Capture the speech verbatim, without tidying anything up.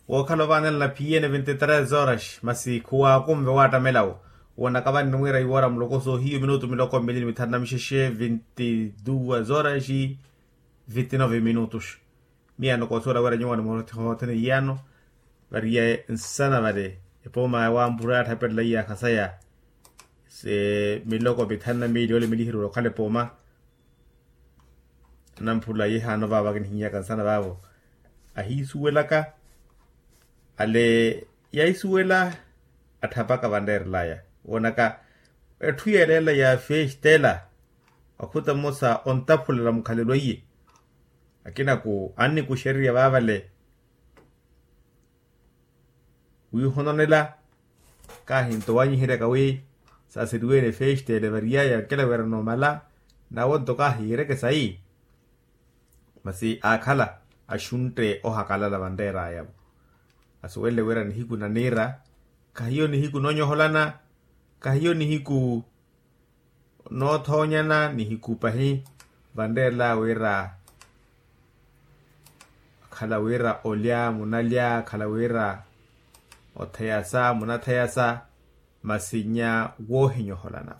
Wookhala ovaanela na phiyene vinti tres horas masi khuwaakunve waattamela wo. Woonaka vani nimwiira iwoora muloko soohiyu minutu miloko mmili ni mithanu na mixexe vinti duwa horas vinti nove minutus. Miyaano koosuwela wira nyuwo animootthe hothene iyaano. Variye nsana vale epooma ya wampura yaatthapelela iyaakha saya se miloko mithanu na miili yoole milihiri wira okhala epooma. Anamphula yehaano vaavo akinihinyaka nsana vaavo ahiisuwelaka. Ale yaisuwela atthapaka vanreerelaya woonaka etthu yeelela ya festela. Wakhuta mmosa ontaphulela mukhalelo iye akinaku annikuxeriya vaavale. Wiihononela kaahinto wanyiheryaka wi saaseriwene festele variyaya nkela wira noomala. Nawonto kaahiireke sayi masi aakhala axuntte ohakalala vanreeraya-vo. Asuwelele wira nihiku naniira khahiyo nihiku noonyoholana khahiyo nihiku noothoonyana nihiku pahi. Vanreerela wira khala wira olya munalya khala wira otheyasa munatheyasa masinya woohinyoholana.